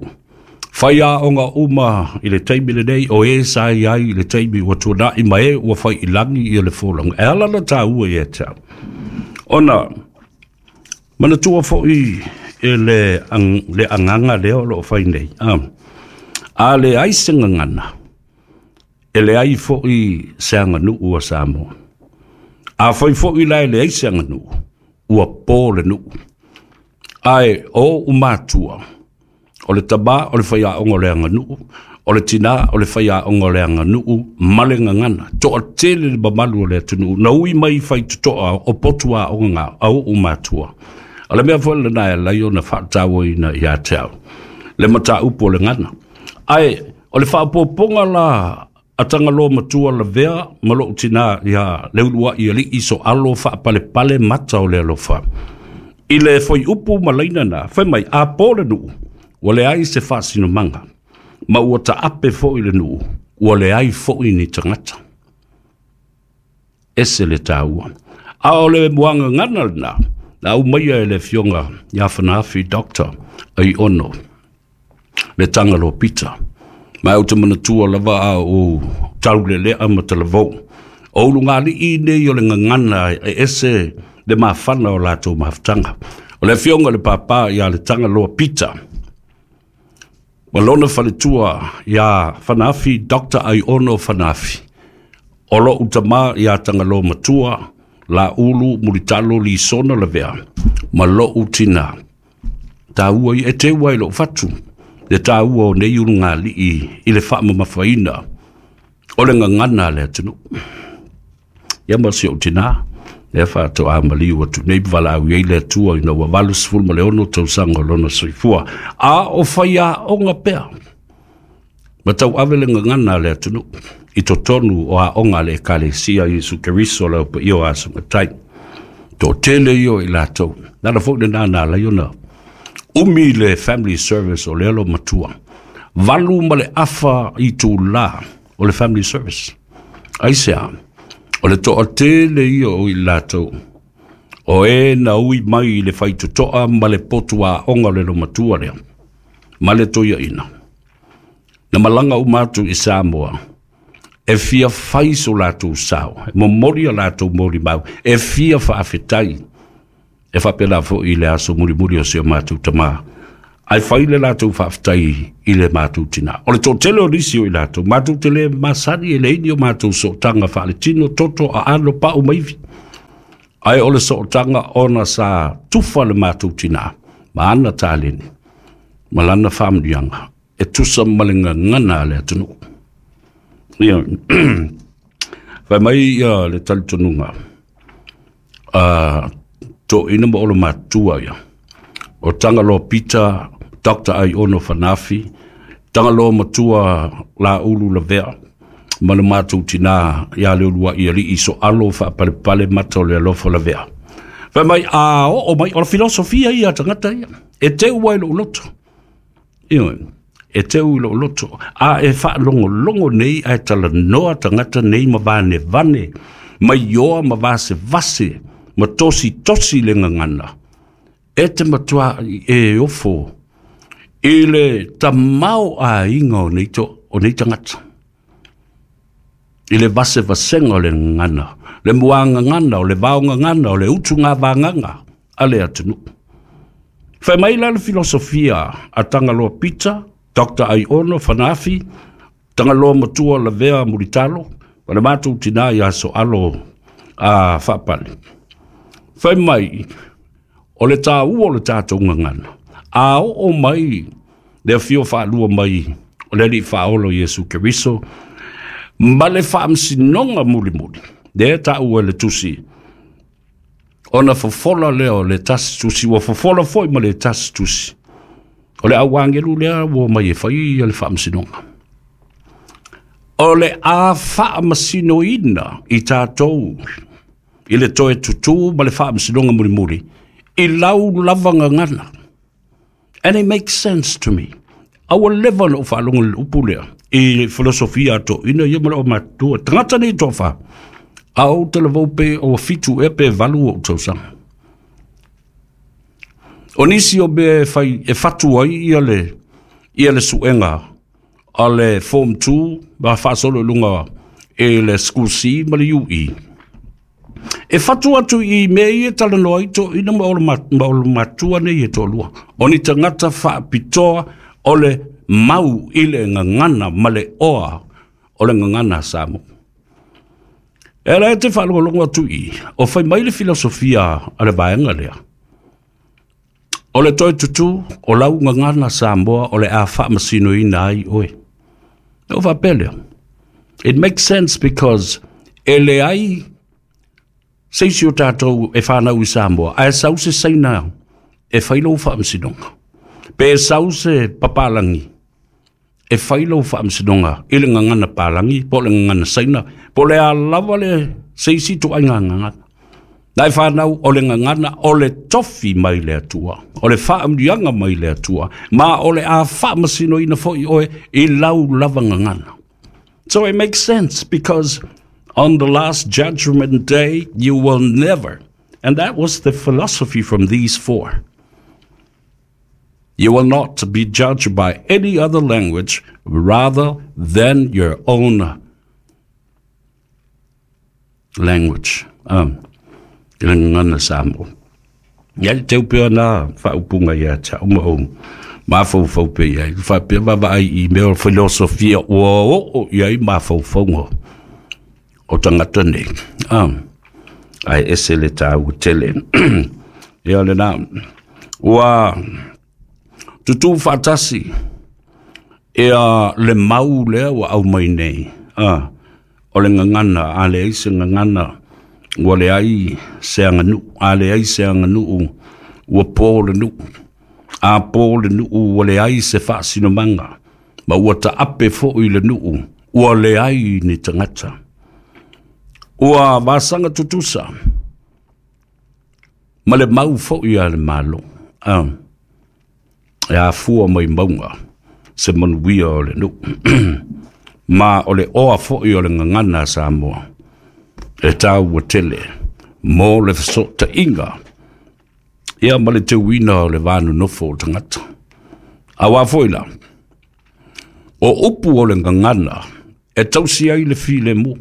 fai aoga uma i le taimi lenei o e sa i ai i le taimi ua tuana'i ma e ua fai i lagi ia le folauga e ala na taua ia te au ona manatua fo'i e le, ang, le agaga lea o loo fai nei. A, a leai se gagana, e leai fo'i se aganuu a Samoa. A fai fo'i la e leai se aganuu, ua po le nuu. Ae o umatua, o le tamā o le faiaoga o le aganuu, o le tinā o le faiaoga o le aganuu ma le gagana. Toatele le mamalu o le atunuu na ui mai faitotoa o potu aoga a oo matua. O le mea foi lena e alai ona faatauaina ia te au le mataupu o le gana. Ae o le faaopoopoga la a Tagaloa Matua Lavea ma lou tinā ia Leulua'i Alii Soalo Faapalepale Mata o le Alofa i le foaiupu ma laina na fai mai, a po le nuu, ua leai se faasinomaga, ma ua taape fo'i le nuu, ua leai fo'i ni tagata. Ese le taua. A o le muagagana lena na aumaia e le afioga ia Fanaafi Doctor Aiono le Tagaloa Pita. Ma ou te manatua lava a ou taulelea ma talavou. O ulugalii nei o le gagana e ese le mafana o latou mafutaga. O le afioga le pāpā ia le Tagaloa Pita ma lona faletua ia Fanaafi Doctor Aiono Fanaafi. O lou tamā ia Tagaloa Matua Laulu Mulitalo Lisona Lavea ma lou tinā. Taua ia e teu ai lou fatu le taua o nei ulugalii i le faamamafaina o le gagana a le atunuu. Ia ma si ou tinā, lea faatoa maliu atu nei valaau ai le Atua ina ua valu ma le ono tausaga o lona soifua. A o faiaoga pea ma tauave le gagana a le atunuu i totonu o aoga a le Ekalesia Iesu Keriso le Aupaia o Asogatai. Toatele ia o i latou. Nana foi lena na alai ona umi le family service o lea lo matua. Valu ma le afa i tūlā o le family service. Aisea, o le toatele ia o i latou o e na ui mai i le faitotoa ma le potu aoga o le lomatua lea ma le toiaina. Na malaga uma atu i Samoa e fia fai so latou sao, e momoli a latou molimau, e fia faafetai e faapena fo'i i le aso mulimuli o si o matou tamā. Ae fai le latou faafetai i le matou tinā. O le toatele o nisi o i latou, matou te le masani e leai ni o matou sootaga faaletino, toto, aano, pa'u ma ivi. Ae o le sootaga ona sa tufa le matou tinā ma ana taleni ma lana faamanuiaga e tusa ma le gagana a le atunuu. Ia, fai mai ia le talitonuga a toeaina ma olo matua ia o Tagaloa Pita Doctor Aiono Fanaafi, Tagaloa Matua Laulu Lavea ma le matou tinā ia Leulua'i Alii Soalo Faapalepale Mata o le Alofa Lavea. Fai mai a oo mai, o le filosofia ia a tagata ia, e teu ai lou loto. Ioe, e teu i lou loto. A e faalogologo nei ae talanoa tagata nei ma vanevane, ma ioa ma vasevase, ma tositosi le gagana. E te matua e ofo i le tamao aiga o nei, to, o nei tagata. I le vasevasega o le gagana, le muagagana, o le vaogagana, o le utuga vagaga a le atunuu. Fai mai la le filosofia a Tagaloa Pita, Doctor Aiono Fanaafi, Tagaloa Matua Lavea Mulitalo, ma le matou tinā ia Soalo a Faapale. Fai mai, o le taua o le tatou gagana. A oo mai le afio faalua mai o le Alii Faaola Iesu Keriso, ma le faamasinoga mulimuli, lea taua e le tusi Ona fofola lea o le tasi tusi, ua fofola foi ma le tasi tusi. O le auangelu lea ua mai e fai ia le faamasinoga. O le a faamasinoina i tatou i le toe tutū ma le faamasinoga mulimuli, i lau lava gagana. And it makes sense to me. A ua leva ona ou faalogo i le upu lea, i filosofia a toeaiina ia ma le aumatutua. Tagata nei toafa, a ou talavou pe ua fitu ea pe valu ou tausaga. O nisi o mea e fai e fatu ai ia le ia le suega a le Form two ma faasolo i luga e le School C ma le U E. E fatu atu i mea ia e talanoa ai toeaiina ma olo ma olo matua nei e toalua. O ni tagata faapitoa o le mau i le gagana ma le oa o le gagana a Samoa. E ala e te faalogologo atu i, o fai mai le filosofia a le vaega lea. O le toe tutū, o lau gagana Samoa o le a faamasinoina ai oe. E o faapea lea. It makes sense because e leai se isi o tatou e whanau i Samoa, ae sau se Saina e fai lou faamasinoga. Pe sau se papalangi e fai lou faamasinoga i le gagana palangi, po o le gagana Saina, po o le a lava le se isi ituaiga gagana. Na e whanau o le gagana o le tofi mai le Atua, o le faaamuliaga mai le Atua, ma o le a faamasinoina foi oe i lau lava gagana. So it makes sense because on the last judgment day, you will never, and that was the philosophy from these four. You will not be judged by any other language rather than your own language. Um, i le gagana Samoa. Ia le teu pea na faaupuga ia te au ma ou mafaufau pea i ai. Faapea vaavaai i mea o filosofia ua oo i ai mafaufauga o tagata nei. Um, ae ese le tāua tele. Ia lena, ua tutū faatasi ia le mau lea ua aumai nei. Ah, o le gagana, a leai se gagana, ua leai se aganuu, a leai se aganuu, ua po le nuu. A po le nuu ua leai se faasinomaga, ma ua taape foi le nuu, ua leai ni tagata. Ua vasaga tutusa, ma le mau foi a le Malo. Ah, e afua mai mauga se manuia o le nuu. Ma o le oa foi o le gagana a Samoa, e tāua tele mo le fesootaiga ia ma le teuina o le va nonofo o tagata. Auā foi la, o upu o le gagana e tausi ai le filemu.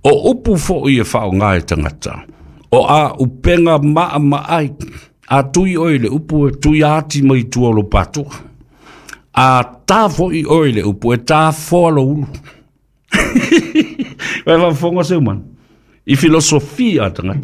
O upu foi e faaaoga e tagata, o a upega maamaai, a tui oe le upu e tui ati mai tua o lo patoa. A tā foi oe le upu e tā foa lo ulu. Vai faafofoga seu mana i filosofia a tagata.